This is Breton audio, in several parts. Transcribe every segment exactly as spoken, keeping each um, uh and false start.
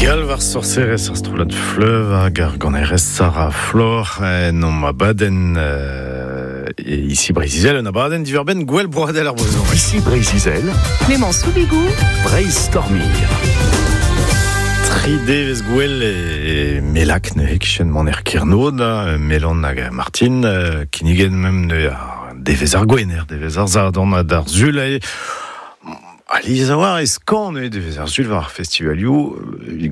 Galv ar sorserez ar strollad Fleuve hag ar ganerez Sarah Flor en omp abadenn euh, ici Breizh-Izel, un abadenn diverben gwell broadel ar brezhoneg. Ici Breizh-Izel, Clément Soubigou, Breizh Stormir. Tri devez gwell e melak neuze kichen man er Kernod, Melan hag Martin, kinnigen mem neuze ar devez ar gwener, devez ar zadon d'ar zul e... Aliz a war ez kan neuze devez ar zul war ar festivalioù,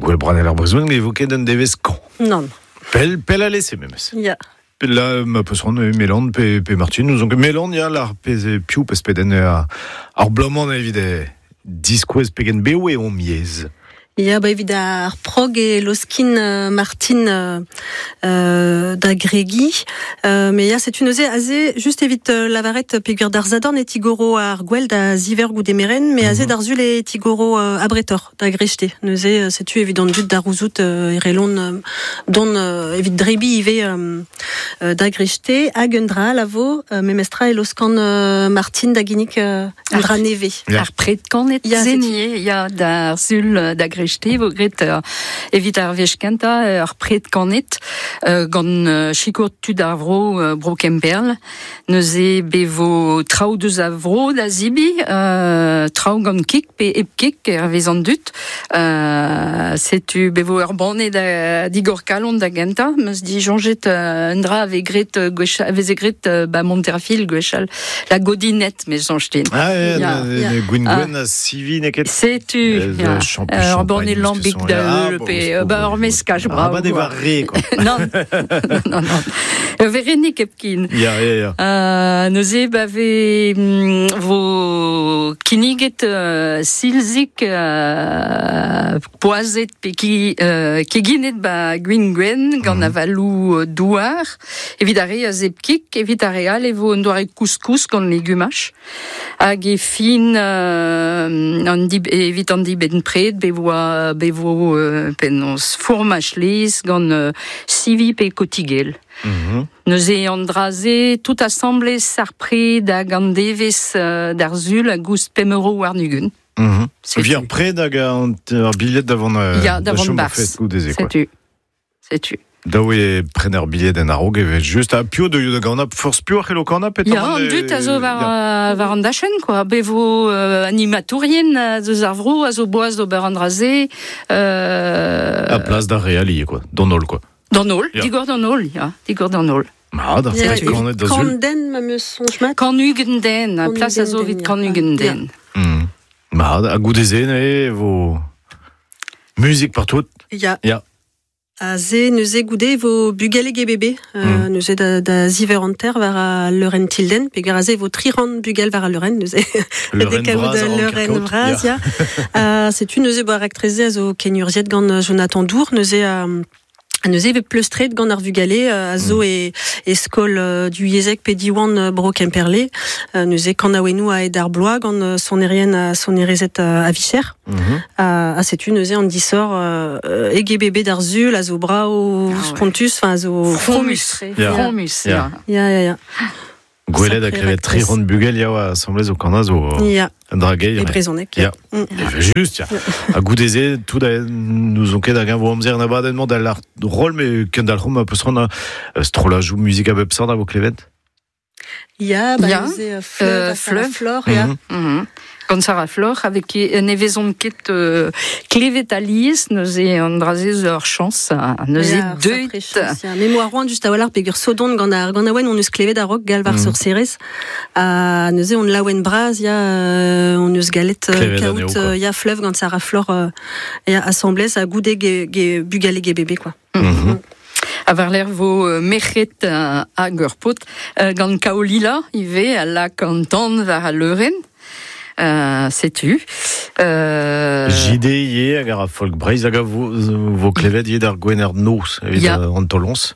gwell broadel ar brezhoneg evoket un devez kan. Non. Pel, pel a lese memes. Ya. La ma peus ran Melan pe, pe Martin, nous on Melan ya l'ar pez piou pez peden ar, ar blomant evit diskouez pegen beo e on miez. Ya, ba evit ar prog e loskin euh, Martin euh, euh, da gregi. Euh, mais ya, c'est une oze aze, juste evit euh, lavaret pegur d'ar zadorn e tigoro ar gwell da ziver goude meren, mais aze mm -hmm. d'ar zul e tigoro euh, abretor da grechete. Neuze, setu evit an dud d'ar ouzout euh, erelon euh, don euh, evit drebi ive euh, euh, da grechete, hag un dra lavo, euh, memestra e loskan euh, Martin da ginnik euh, un dra neve. Ya. Ar pred kanet zenie, ya, d'ar zul da grechete. Vo gret euh, evit ar wech kenta ar pred kanet euh, gant euh, chikour tud ar vro euh, bro Kemperl neuze bevo traoù deus a vro da zibi euh, traoù gant kik pe hep kik er vez an dut euh, setu bevo ur banne da digor kalon da genta meus di jonjet euh, un dra ave gret gwechal veze gret euh, ba Monterfil gwechal la godinet me jonjetin. Ah ya, gwin gwen a sivi neket. Setu ya. Euh, bon e lambik da ah, pe ba ur meskaj bravo. Ah ba de war re quoi. Non. Non non. Véronique Epkin. Ya ya ya. Euh neuze ba ve vo kinniget euh, silzik euh, poazet pe ki euh, keginet ba gwin gwen gant mm -hmm. avalou douar evit ar re a zepkik evit ar re all e vo un doare couscous gant legumach hag e fin euh, an dib evit an dibenn pred be voa bevo euh, penaos fourmaj lez gant euh, sivi pe kotigel. Mm -hmm. Neuze an draze tout assemblez ar pred hag an devez euh, d'ar zul a goust pemero war nugun. Mm -hmm. Vi ar pred hag ar billet d'avant euh, ya, d'avant bars. Setu. Setu. Daou e prener billet en a-raok evet just a pio de da ganap force pio ar c'hello kanap et Ya, an dut a zo war, yeah. war an dachen quoi. Bevo euh, animatourien deus ar vro a zo boaz d'ober an draze euh... A plas d'ar reali quoi, d'an holl quoi. D'an holl, yeah. Digor d'an holl, ya, digor d'an holl. Ma, d'ar yeah, kanet da zul. Kan den ma meus sonj mat. Kan ugent den, plas a zo vit kan ugent den. Mm. Ma, a goudeze ne vo musique partout. Ya. Ya. A ze neuze goude vo bugale ge bebe euh, mm. neuze da, da ziver anter war a leuren tilden peger a ze vo tri ran bugel war a leuren neuze leuren vraz ya uh, setu neuze bo ar aktreze a zo kenurziet gant Jonathan Dour neuze a uh, neuze ve pleustret gant ar vugale a zo e, e skol uh, du yezek pe diwan uh, bro Kemperle uh, neuze kanaouennoù a ed ar bloa gant uh, sonerien a sonerezet uh, a vicher mm -hmm. a, a setu neuze an disor uh, ege bebe d'ar zul a zo brao ah, spontus enfin a zo fromus fromus ya ya ya ya Gwelet a krevet tri ran bugel ya oa assemblez o kana zo ya. Un dragei. E brezhoneg. Ya. Mm. E just, ya. A goudeze, tout a nous on ket hag vo amzer an abadenn da l'ar rol me kendalc'hom a peus ran a strolajou muzik a bep sort a vo klevet. Ya, ba ya. neuze Fleuve, Fleuve, Flor, ya. Mm -hmm. Gant Sarah Flor, avec un evezon ket euh, klevet aliz, neuze an draze zo ur chance, neuze deuit. Mémoire roan just a walc'h pegur sodon gant ar gant aouen on eus klevet a-raok galvar mm. sorcerez, a neuze on laouen braz, ya, on eus galet kaout, ya Fleuve gant Sarah Flor, ya assemblez a goude ge, ge bugale ge bebe, quoi. Mm -hmm. A war l'air vo euh, merc'het euh, hag ur pot euh, gant kaolila ive a lak an tan war a leuren. Euh, setu. Euh... J D ye hag ar folk Breizh hag a vo, vo klevet ye d'ar gwener noz evit ya. An tolons.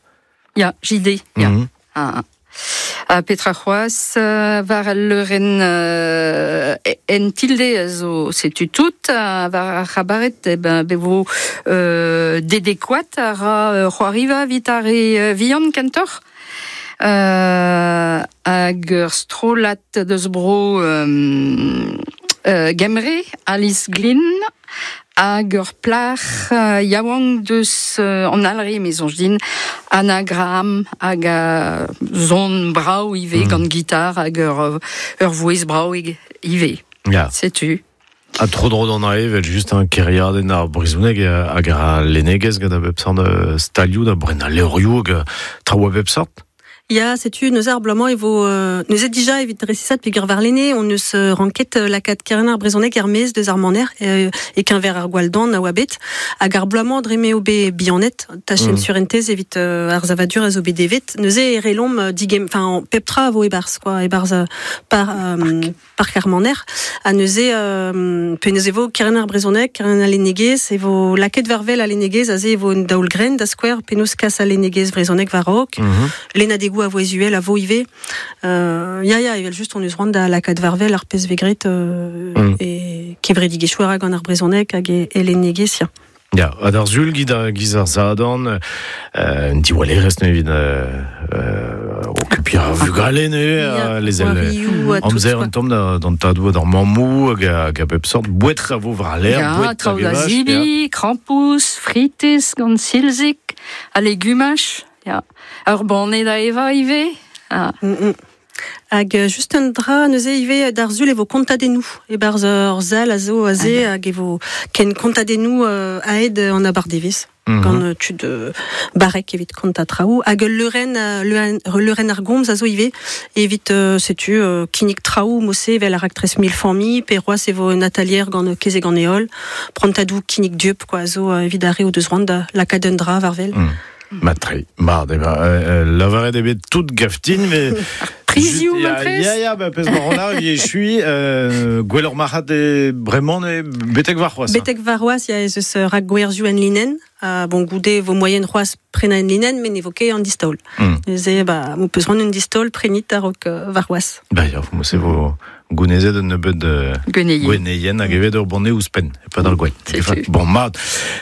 Ya, J D, ya. Mm -hmm. Ah, ah. A Petra c'hoaz war al leuren euh, en tilde a zo setu tout, a war ar c'habaret e ben bevo euh, dedekoat a ra c'hoariva vit ar e vihan kentoc'h. Euh, hag ur strollad deus bro euh, euh, Gemre, Alice Glynn, Hag ur plac'h uh, yaouank deus uh, an alre me soñj din, Anna Graham hag a zon brao ive mm. gant gitar hag ur, ur vouez brao ive. Ya. Setu. A tro dro d'an ae, vel just un keriadenn ar brezhoneg hag ar lennegezh gant a bep sort stalioù da bren a levrioù hag traoù a bep sort. Ya, setu, neus ar bloaz-mañ e vo... Euh, neus et dija evit resisat peogwir warlene, on eus euh, ranket euh, lakaat keren ar brezhoneg er maez deus ar maner euh, e keñver ar gwalldan a oa bet. Hag ar bloaz-mañ dre m'eo bet bihanet, tachenn mm. surentez evit euh, ar savadur a zo bet devet. Neuze e relomp digem... Enfin, pep tra a vo e-barzh, quoi, e-barzh euh, par, euh, park ar maner. Ha neuze, euh, pe neuze vo keren ar brezhoneg, keren al lennegezh, e vo lakaet war wel al lennegezh, aze e vo un daol-grenn da skouer, penaos kas al lennegezh brezhoneg war-raok, mm -hmm. lennadegoù a vo ezuel a vo ive. Euh, ya, ya, evel just on eus c'hoant da lakaat war wel ar pezh vegret euh, mm. e kevredigezhioù a ra gant ar brezhoneg hag e, e lennegezh, ya. Ya, ha d'ar sul giz ar, giz ar zadorn, euh, un diwallerez neuze evit euh, euh, okupiñ ar vugale neuze, euh, les el amzer un tamm da, d'an tadoù d'ar mammoù hag a, hag a bep sort, boued a vo war l'air, Ya, boued traoù hag da evaj, zibi, krampouezh, fritez gant silzik, ha legumaj. Ya. Ur banne da eva ive. Ah. Mm -mm. Hag just un dra neuze ive d'ar sul e vo kontadennoù e-barzh ur sal a zo aze hag e vo ken kontadennoù euh, aet an abardevezh. Mm -hmm. Gant tud euh, barrek evit konta traoù. Hag ul leurenn, leurenn ar gomz a zo ive evit euh, setu euh, kinnig traoù mose evel ar raktres mil familh, pe roaz e vo un atalier gant keze gant eol, prantadoù kinnig dieup quoi, a zo euh, evit ar re o deus c'hoant da lakaat un dra war wel. Mm. Matre, mat, eba, euh, lavaret eo bet tout gaftin, mais... Prizioù, ya, matrez. Ya, ya, ba, pezh ma ran e chui, euh, gwelloc'h marc'had e bremañ e betek warc'hoazh. Betek warc'hoazh, ya ez eus rak gwerzhioù en linenn. Uh, bon, goude vo moyen c'hoazh prenañ en linenn, met ne vo ket an distaol. Mm. Neuze, ba, mo peus c'hoant un distaol, prenit a-raok uh, warc'hoazh. Ba, ya, mo se vo gounezet un nebeud euh, Gweneien. Gweneien hag evet ur banne ouzhpenn, e pad ar gwenn. Setu. Bon, mat.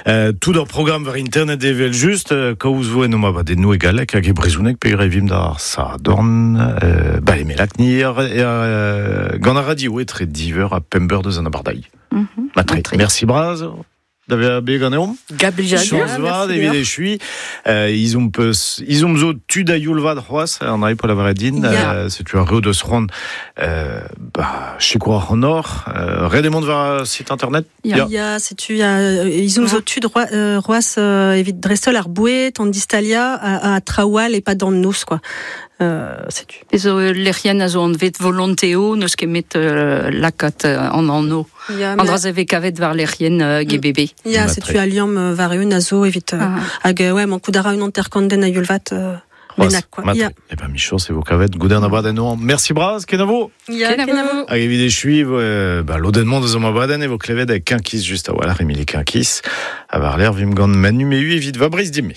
Euh, tout ur programm war internet evel just, euh, kaoz vo en o abadennoù e galleg hag e brezhoneg peogwir e vimp d'ar sadorn, euh, ba e melak-ni ar, euh, gant ar radio etre div eur ha pemp eur deus an abardailh. Mm -hmm. Matre. Merci braz. Da vezañ bet ganeomp. Gablijadur. Chañs vat evit echui. Euh, izomp peus, izomp zo tud a youl vat c'hoazh, an ae po lavaret din. Ya. Euh, setu ar re o deus c'hoant euh, ba, sikour ar c'honor. Euh, ret emañ war site internet. Ya. Ya. Ya, setu, ya, izomp zo tud roi, euh, roaz euh, evit dreistholl ar boued, an distalia, a, a traoù all e pad an noz, quoi. Euh, setu. Zo lec'hienn a zo anvet volonteo, n'eus ket met euh, lakaat euh, an anno. Ya, An dra ze vez kavet war lec'hienn euh, G B B. Ya, Matre. setu a liamm war eun a zo evit... Euh, Ah. Hag, ouais, mankout a ra un hanter-kant den a youl vat euh, bennak, quoi. Matre. Ya. Eh ben, michañs e vo kavet goude an abadenn oan. Merci braz, kenavo. Ya, Kenavo. Hag evit echui, euh, ba, lodenn-mañ deus an abadenn e vo klevet hag Quinquis just a-walc'h, Emilie Quinquis. A war l'air vim gant Manu Mehu evit va breiz dime.